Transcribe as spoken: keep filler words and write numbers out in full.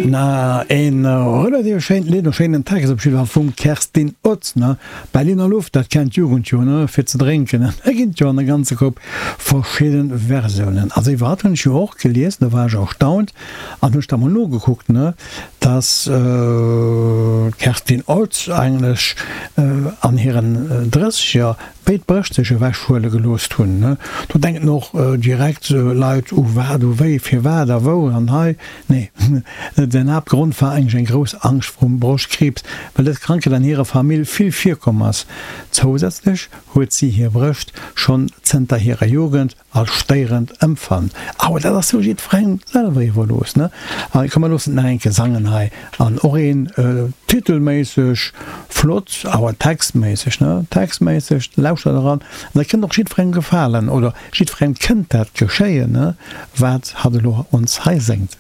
Na, een relativ schéint Lidd, e schéinen Text op jidde Fall vum Kerstin Otz, ne? Berliner Luft, dat kennt d'Jugend jo, ne, fir ze drénken. An da ginn et jo an e ganze Koup verschidde Versiounen. Also iwwerhaupt hunn ech jo och gelies, do war ech erstaunt an hunn ech da mol nogekuckt, ne, dass d'Kerstin Otz eigentlech an hiren Drësseger béid Brëscht sech ewech huele gelooss hunn, ne. Do denken och direkt Leit u wat, u wéi, firwat a wou an hei. Nee, den Haaptgrond war eigentlech eng grouss Angscht vrum Broschtkriibs, well dës Krankheet an hirer Famill vill virkomm ass. Zousätzlech huet si hir Brëscht schonn zënter hirer Jugend als stéierend ëmfannt. Awer dat ass jo jiddwerengem selwer iwwerlooss, ne? A komm mer loossen et nach eng Kéier sangen hei. An och een titelméisseg flott, awer textméisseg, ne? Textméisseg, lauschtert eran, an dat kënnt och jiddwerengem gefalen, oder jiddwerengem kënnt dat geschéien, ne? Wat hatt elo ons hei séngt.